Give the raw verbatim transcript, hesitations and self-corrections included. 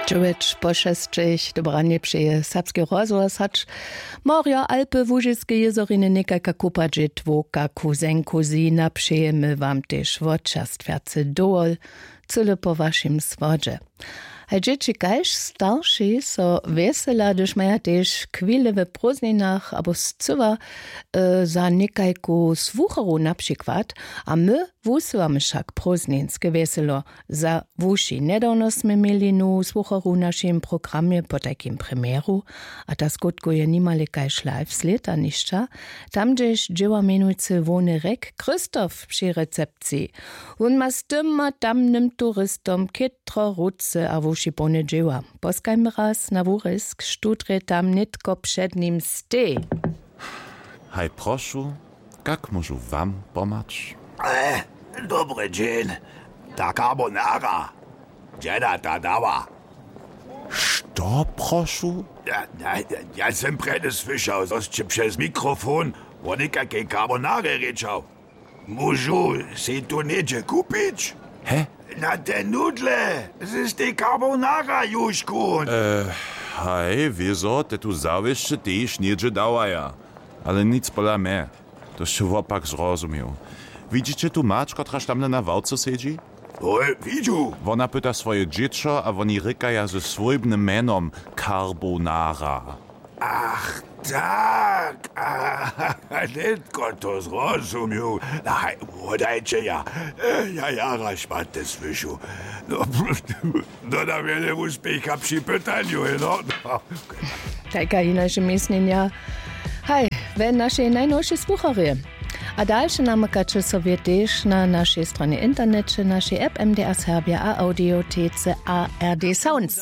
Dźewjeć po šesćich, dobre ranje přeje Serbski rozhłos. Hač Morjo, Alpy, Łužiske jězoriny, někajka kupa dźětłow, kaku zenku zina, přejemy wam tež wotčerstwjacy dowol, cyle po wašim słodźe. Haj dźěći kaž starši so wjesela, hdyž maja tež chwile w prózdninach abo scyła za někajku słucharu na přikład. A my wusyłamy wšak prózdninske wjeselo za wuši. Njedawno smy měli nowu słucharu w našim programje po tajkim premjeru, a ta skutkuje nimale kaž live slědanišća, tam hdźež dźěła mjenujcy hłowny rjek christoph při recepciji. Wón ma z tym a tamnym turistom chětro ruce a wuši połne dźěła. Poskajmy raz na wurězk, štó drje tam nětko před nim steji. Haj prošu, kak móžu wam pomhać? Dobry dźeń. Ta carbonara, dźeda ta dała? Što prošu? Ja, ja, ja sym prjedy słyšał, zo sće přez mikrofon wo někakej carbonarje rěčał. Móžu sej tu něhdźe kupić? He? Na te nudle z tej carbonara južku. Haj wězo te tu zawěsće tež něhdźe dawaja. Ale nic pola mje. To sće wopak zrozumił. Widźiće tu mać, kotraž tamle na ławce sedźi? Hoj, widźu. Wona pyta swoje dźěćo a woni rěkaja ze swójbnym mjenom carbonara. Ach, tak. Nětko to zrozumił. Haj, wodajće ja. Ja jara šmaty słyšu. No, dodam wjele wuspěcha při pytanju, no. Tajka hinaše měsnjenja. Haj, we našej najnowšej słucharje. A dalše namakaće sobie tež na našej stronje interneće, našej app M D R Serbia a audiotece A R D Sounds.